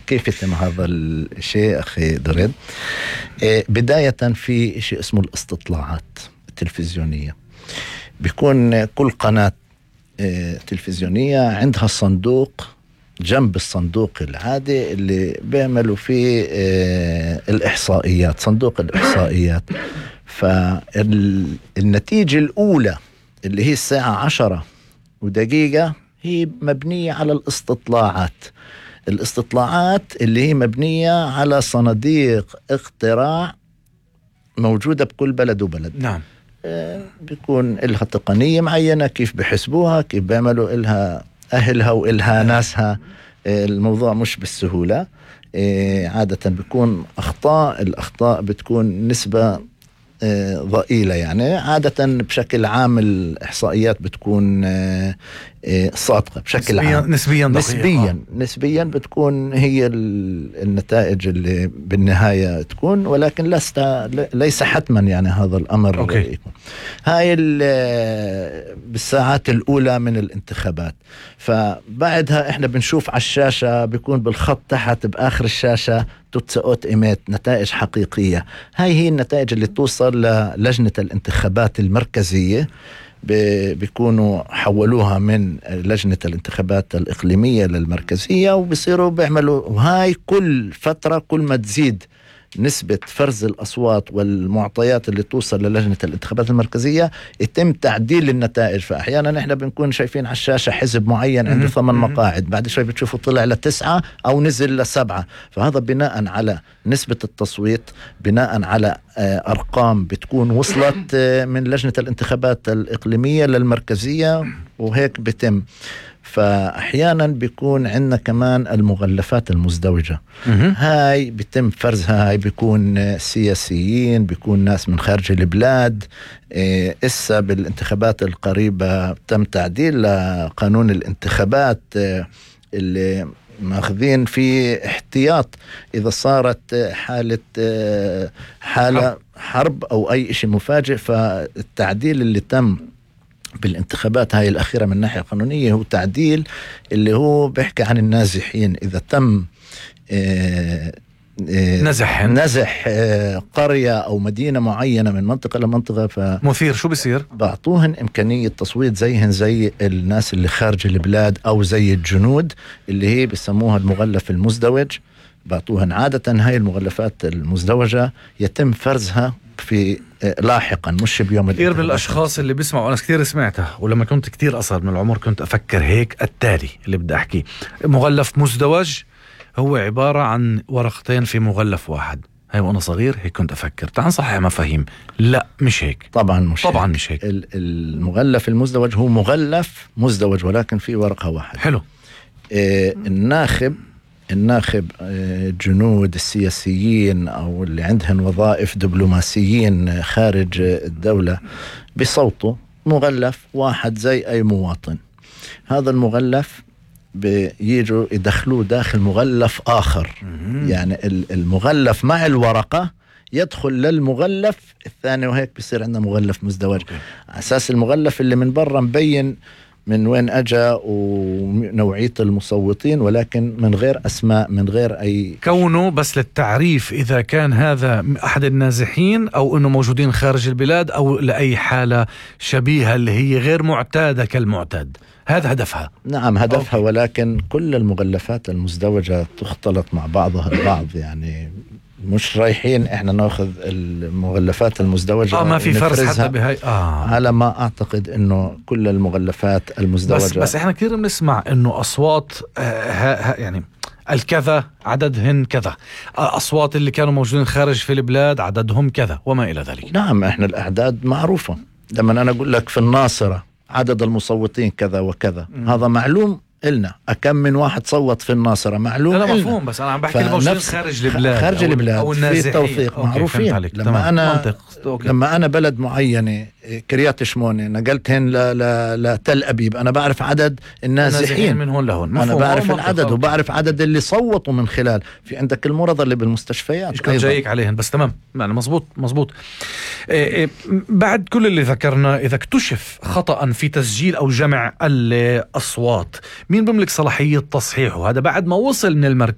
كيف يتم هذا الشيء أخي دريد؟ بداية في شيء اسمه الاستطلاعات التلفزيونية. بيكون كل قناة تلفزيونية عندها صندوق جنب الصندوق العادي اللي بيعملوا فيه الإحصائيات، صندوق الإحصائيات. فالنتيجة الأولى اللي هي الساعة 10:01 هي مبنية على الاستطلاعات اللي هي مبنية على صناديق اقتراع موجودة بكل بلد وبلد. نعم. بيكون لها تقنية معينة، كيف بحسبوها، كيف بيعملوا إلها أهلها وإلها ناسها. الموضوع مش بالسهولة. عادة بيكون الأخطاء بتكون نسبة ضئيلة، يعني عادة بشكل عام الإحصائيات بتكون صادقة بشكل عام. نسبيا بتكون هي النتائج اللي بالنهاية تكون، ولكن ليس حتما يعني هذا الأمر يكون. هاي بالساعات الأولى من الانتخابات. فبعدها إحنا بنشوف على الشاشة بيكون بالخط تحت بآخر الشاشة توتسأوت إيميت، نتائج حقيقية. هاي هي النتائج اللي توصل للجنة الانتخابات المركزية، بيكونوا حولوها من لجنة الانتخابات الإقليمية للمركزية، وبيصيروا بيعملوا. وهاي كل فترة كل ما تزيد نسبة فرز الأصوات والمعطيات اللي توصل للجنة الانتخابات المركزية يتم تعديل النتائج. فأحيانا نحن بنكون شايفين على الشاشة حزب معين عنده 8 مقاعد، بعد شوي بتشوفوا طلع ل9 أو نزل ل7. فهذا بناء على نسبة التصويت، بناء على أرقام بتكون وصلت من لجنة الانتخابات الإقليمية للمركزية، وهيك بتم. فأحيانا بيكون عندنا كمان المغلفات المزدوجة. هاي بيتم فرزها. هاي بيكون سياسيين، بيكون ناس من خارج البلاد. إسا بالانتخابات القريبة تم تعديل لقانون الانتخابات اللي ماخذين في احتياط إذا صارت حالة حرب أو أي شيء مفاجئ. فالتعديل اللي تم بالانتخابات هاي الأخيرة من ناحية قانونية هو تعديل اللي هو بيحكي عن النازحين. إذا تم نزح قرية أو مدينة معينة من منطقة لمنطقة، مثير شو بيصير؟ بعطوهن إمكانية تصويت زي الناس اللي خارج البلاد أو زي الجنود اللي هي بيسموها المغلف المزدوج. بعطوهن عادة هاي المغلفات المزدوجة يتم فرزها في لاحقا، مش بيوم. كثير من الأشخاص اللي بيسمعوا، أنا كثير سمعتها، ولما كنت كثير أصغر من العمر كنت أفكر هيك. التالي اللي بدي أحكي، مغلف مزدوج هو عبارة عن ورقتين في مغلف واحد. هاي وأنا صغير هيك كنت أفكر. تعال نصحح مفاهيم. لا مش هيك، طبعا مش هيك. المغلف المزدوج هو مغلف مزدوج ولكن في ورقة واحدة. حلو. الناخب الجنود السياسيين أو اللي عندهم وظائف دبلوماسيين خارج الدولة بصوتوا مغلف واحد زي أي مواطن. هذا المغلف بيجوا يدخلوه داخل مغلف آخر. يعني المغلف مع الورقة يدخل للمغلف الثاني، وهيك بيصير عندنا مغلف مزدوج. على أساس المغلف اللي من برا مبين من وين أجا ونوعية المصوتين، ولكن من غير أسماء، من غير أي كونه بس للتعريف إذا كان هذا أحد النازحين أو أنه موجودين خارج البلاد أو لأي حالة شبيهة اللي هي غير معتادة كالمعتاد. هذا هدفها. نعم هدفها. ولكن كل المغلفات المزدوجة تختلط مع بعضها البعض، يعني مش رايحين احنا ناخذ المغلفات المزدوجة ما في فرز حتى بهاي. على ما اعتقد انه كل المغلفات المزدوجة بس احنا كثير بنسمع انه اصوات يعني الكذا عددهن كذا، اصوات اللي كانوا موجودين خارج في البلاد عددهم كذا وما الى ذلك. نعم احنا الاعداد معروفة. لما انا اقول لك في الناصرة عدد المصوتين كذا وكذا، هذا معلوم إلنا. أكم من واحد صوت في الناصرة معلوم. لا مفهوم، بس أنا عم بحكي الموجودين خارج البلاد أو النازحين في توثيق معروفين. لما أنا بلد معينة كريات شمونة، نقلتهن لتل أبيب، أنا بعرف عدد النازحين من هون لهون، أنا بعرف العدد وبعرف عدد اللي صوتوا من خلال. في عندك المرضى اللي بالمستشفيات كنت جايك عليهن، بس تمام يعني مزبوط. بعد كل اللي ذكرنا، إذا اكتشف خطأ في تسجيل أو جمع الأصوات، مين بيملك صلاحية تصحيحه؟ هذا بعد ما وصل من المركز